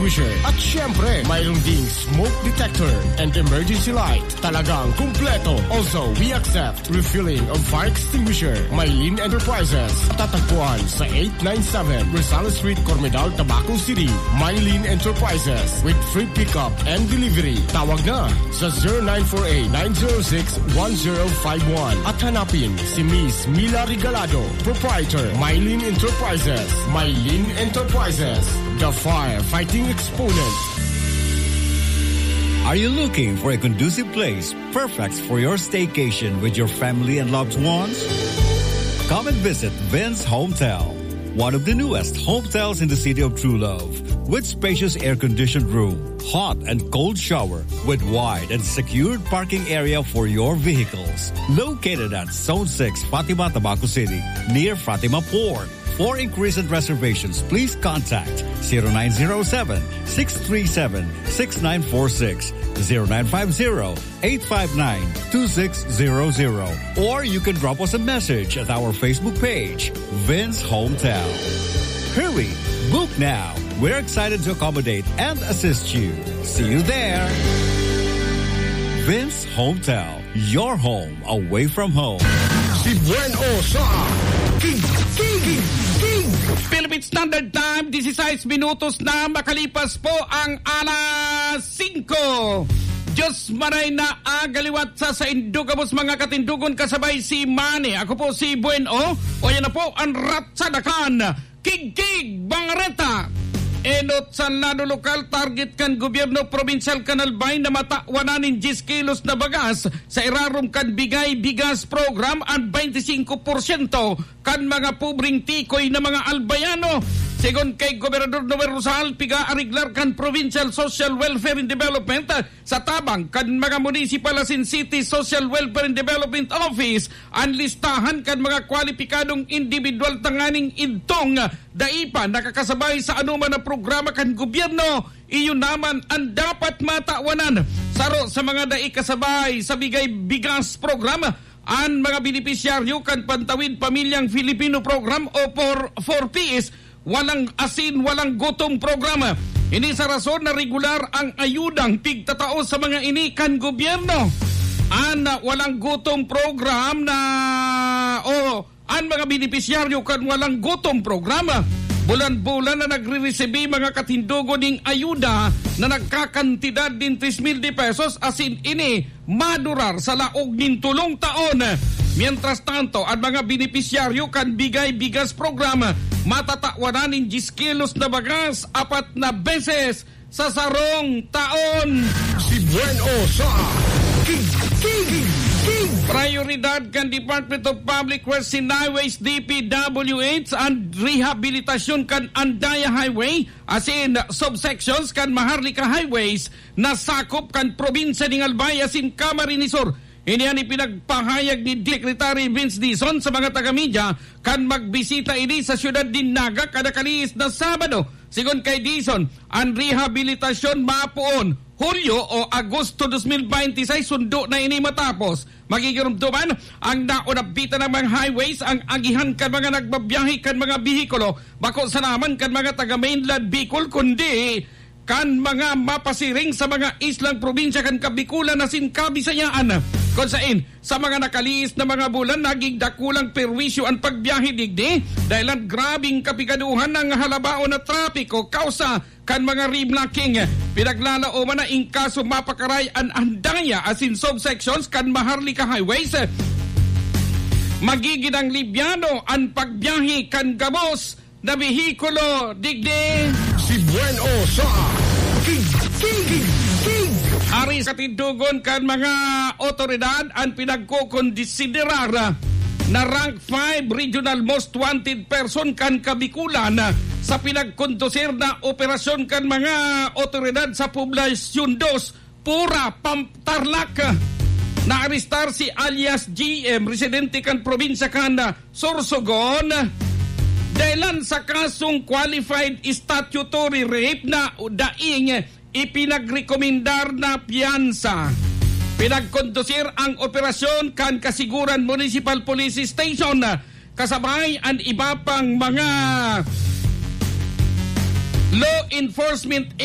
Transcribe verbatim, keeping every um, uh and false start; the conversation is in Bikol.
At syempre, mayroon ding smoke detector and emergency light. Talagang kumpleto. Also, we accept refilling of fire extinguisher. Mylene Enterprises. Tatagpuan sa eight nine seven Rosales Street, Cormedal, Tabaco City. Mylene Enterprises with free pickup and delivery. Tawag na sa zero nine four eight, nine zero six, one zero five one. At hanapin si Miss Mila Regalado, proprietor, Mylene Enterprises. Mylene Enterprises, the firefighting exponent. Are you looking for a conducive place perfect for your staycation with your family and loved ones? Come and visit Vince Hometel, one of the newest hotels in the city of True Love, with spacious air-conditioned room, hot and cold shower, with wide and secured parking area for your vehicles. Located at Zone six, Fatima, Tabaco City, near Fatima Port. For inquiries and reservations, please contact zero nine zero seven, six three seven, six nine four six, zero nine five zero, eight five nine, two six zero zero, or you can drop us a message at our Facebook page, Vince Hometel. Hurry! Book now! We're excited to accommodate and assist you. See you there! Vince Hometel, your home away from home. Si Buen O sa King, King, King, King. Philippine Standard Time, disisais minutos na makalipas po ang alas singko. Diyos maray na agaliwat sa saindo gabos, mga katindogon, kasabay si Manny. Ako po si Buen O. O yan na po ang ratsada kan Kigkig Bangareta. Enot sa lado lokal, target kan gobyerno probinsyal kan Albay na matawan nin diyes kilos na bagas sa irarom kan Bigay Bigas Program an baynte singko porsyento kan mga pobreng tikoy na mga Albayano. Segun kay Gobernador Noel Rosal, piga-ariglar kan Provincial Social Welfare and Development sa tabang kan mga municipal asin city social welfare and development office an listahan kan mga kwalipikadong indibidwal tanganing idtong dai pa nakakasabay sa anoman na programa kan gobyerno. Iyo naman an dapat matawanan. Saro sa mga dai kasabay sa Bigay Bigas Program, an mga benepisyaryo kan Pantawid Pamilyang Filipino Program o por-, four Ps, Walang Asin, Walang Gutom Programa. Ini sa rason na regular ang ayudang pigtatao sa mga ini kan gobyerno. An Walang Gutom Program na, o an mga benepisyaryo kan Walang Gutom Programa, bulan-bulan na nagre-resibi, mga katindogon, ning ayuda na nagkakantidad nin tres mil de pesos, asin ini madurar sa laog nin tolong taon. Mientras tanto, an mga benepisyaryo kan Bigay Bigas Program matatawanan nin diyes kilos na bagas apat na beses sa sarong taon. Si Buen O sa King, King, King. Prioridad kan Department of Public Works and Highways, D P W H, an rehabilitasyon kan Andaya Highway asin subsections kan Maharlika Highways na sakop kan probinsya nin Albay asin Camarines Sur. Ini an ipinagpahayag ni Secretary Vince Dizon sa mga taga-media kan magbisita ini sa siyudad nin Naga kada kalihis na Sabado. Segun kay Dizon, an rehabilitasyon mapoon Hulyo o Agosto dos mil baynte seis, sundo na ini matapos. Magigiromdoman ang naonabitan ng mga highways, ang agihan kan mga nagbabiyahe kan mga behikulo, bako sana man kan mga taga-mainland Bicol, kundi kan mga mapasiring sa mga islang probinsya kan Kabikulan asin Kabisayaan, kun sain sa mga nakalihis na mga bulan, naging dakulang perwisyo an pagbiyahe digdi, dahelan grabeng kapigaduhan ang halabaon na trapiko, kausa kan mga reblocking. Pinaglalaoman na in kaso mapakaray an Andaya asin subsections kan Maharlika Highways, magigin ang libyano an pagbiyahe kan gabos na behikulo digdi. Si Buen O sa King, King, King, King. Ari sa tindogon kan mga otoridad an pinagkokonsiderar na rank five regional most wanted person kan Kabikulan sa pinagkondusir na operasyon kan mga otoridad sa Poblasyon dos, Pura, Pam-, Tarlac. Naarestar si alias G M, residente kan probinsya kan Sorsogon, dahelan sa kasong qualified statutory rape na daing ipinagrekomendar na piyansa. Pinagkondusir ang operasyon kan Kasiguran Municipal Police Station, kasabay an iba pang mga law enforcement